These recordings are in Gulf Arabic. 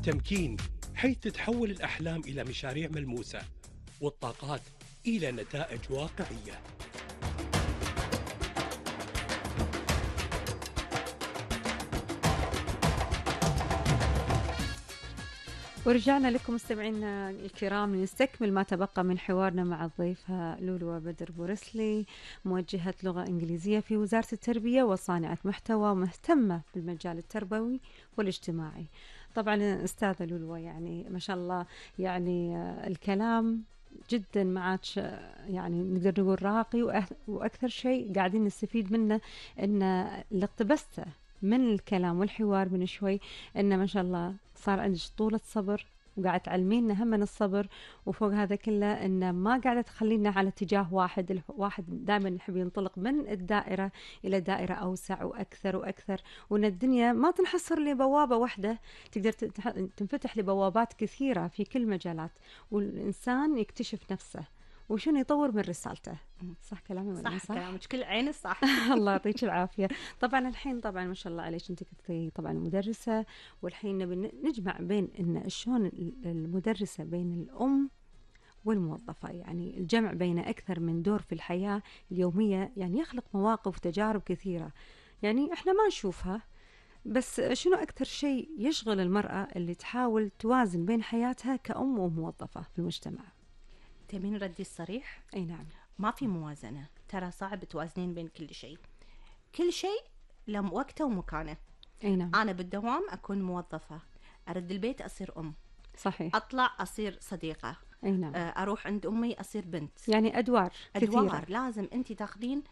والتمكين، حيث تتحول الأحلام إلى مشاريع ملموسة والطاقات إلى نتائج واقعية. ورجعنا لكم مستمعينا الكرام لنستكمل ما تبقى من حوارنا مع الضيفة لولو بدر بورسلي، موجهة لغة إنجليزية في وزارة التربية وصانعة محتوى مهتمة بالمجال التربوي والاجتماعي. طبعا أستاذة لولو يعني ما شاء الله يعني الكلام جدا معك يعني نقدر نقول راقي، وأكثر شيء قاعدين نستفيد منه إن اللي اقتبسته من الكلام والحوار من شوي إن ما شاء الله صار عندك طولة صبر، وقاعد تعلمينا هم من الصبر، وفوق هذا كله إن ما قاعدة تخلينا على اتجاه واحد. الواحد دائما يحب ينطلق من الدائرة إلى دائرة أوسع وأكثر وأكثر، وإن الدنيا ما تنحصر لبوابة واحدة، تقدر تنفتح لبوابات كثيرة في كل مجالات، والإنسان يكتشف نفسه وشنو يطور من رسالته. صح كلامي ولا صح كلامك كل عين صح. الله يعطيك العافية. طبعا الحين طبعا ما شاء الله عليك انت كنتي طبعا مدرسة، والحين نبي نجمع بين ان شلون المدرسة بين الأم والموظفة، يعني الجمع بين أكثر من دور في الحياة اليومية، يعني يخلق مواقف وتجارب كثيرة يعني احنا ما نشوفها، بس شنو أكثر شيء يشغل المرأة اللي تحاول توازن بين حياتها كأم وموظفة في المجتمع؟ تبين ردي الصريح؟ أي نعم. ما في موازنة، ترى صعب توازنين بين كل شيء. كل شيء له وقته ومكانه. أي نعم. أنا بالدوام أكون موظفة، أرد البيت أصير أم. صحيح. أطلع أصير صديقة. أي نعم. أروح عند أمي أصير بنت. يعني أدوار كثيرة. لازم أنت تاخذين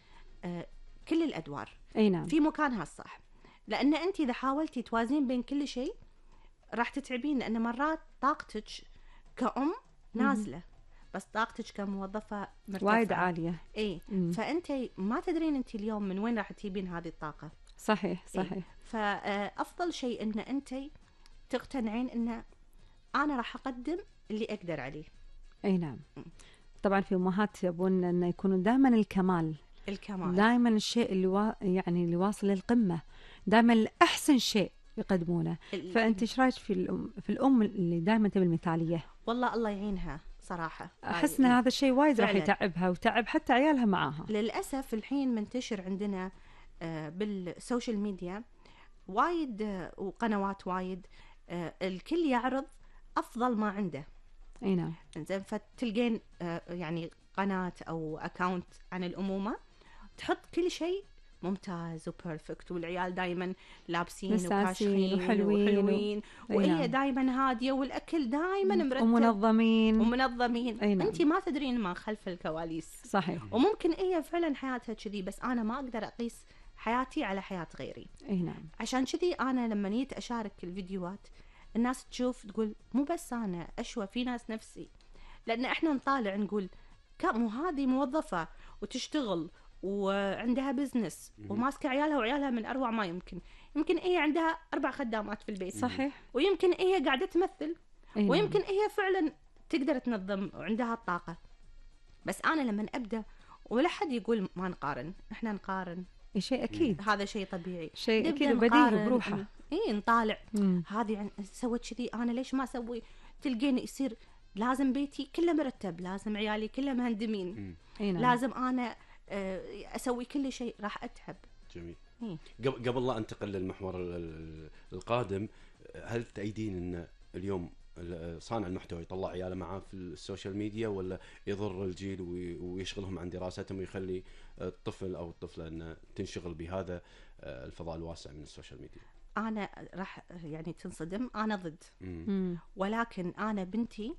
كل الأدوار. أي نعم. في مكانها الصح، لأن أنت إذا حاولتي توازنين بين كل شيء راح تتعبين، لأن مرات طاقتك كأم نازلة بس طاقتك كموظفة مرتفعة وايد عالية. اي فانت ما تدرين انت اليوم من وين راح تجيبين هذه الطاقة. صحيح صحيح. إيه؟ فافضل شيء ان انت تقتنعين ان انا راح اقدم اللي اقدر عليه. اي نعم. طبعا في امهات يبون ان يكونوا دائما الكمال دائما الشيء اللي يعني اللي واصل للقمة، دائما الاحسن شيء يقدمونه. فانت ايش رايك في الام اللي دائما تبي المثالية؟ والله الله يعينها صراحة. أحس أن هذا الشيء وايد راح يتعبها وتعب حتى عيالها معاها. للأسف الحين منتشر عندنا بالسوشيال ميديا وايد وقنوات وايد، الكل يعرض أفضل ما عنده. أي نعم. إنزين فتلقين يعني قناة أو أكاونت عن الأمومة تحط كل شيء ممتاز وبيرفكت، والعيال دايما لابسين وكاشخين وحلوين وهي دايما هادية، والأكل دايما مرتب ومنظمين. أنت ما تدرين ما خلف الكواليس. صحيح. وممكن هي فعلا حياتها كذي، بس أنا ما أقدر أقيس حياتي على حياة غيري. أي نعم. عشان كذي أنا لما نيت أشارك الفيديوهات الناس تشوف تقول مو بس أنا أشوى، في ناس نفسي، لأن إحنا نطالع نقول مو هذه موظفة وتشتغل وعندها بزنس وماسكة عيالها، وعيالها من أروع ما يمكن هي عندها 4 خدامات في البيت. صحيح. ويمكن هي قاعدة تمثل. ويمكن هي فعلا تقدر تنظم وعندها الطاقة. بس أنا لما أبدأ ولا حد يقول ما نقارن، إحنا نقارن شيء أكيد. هذا شيء طبيعي، شيء أكيد بديهي بروحه. نطالع هذه سوت كذي، أنا ليش ما أسوي؟ تلقين يصير لازم بيتي كله مرتب، لازم عيالي كله مهندمين، لازم أنا أسوي كل شيء، راح أتعب. جميل. قبل لا أنتقل للمحور القادم، هل تأيدين أن اليوم صانع المحتوى يطلع عياله معاه في السوشيال ميديا، ولا يضر الجيل ويشغلهم عن دراستهم ويخلي الطفل أو الطفلة أن تنشغل بهذا الفضاء الواسع من السوشيال ميديا؟ أنا راح يعني تنصدم، أنا ضد. ولكن أنا بنتي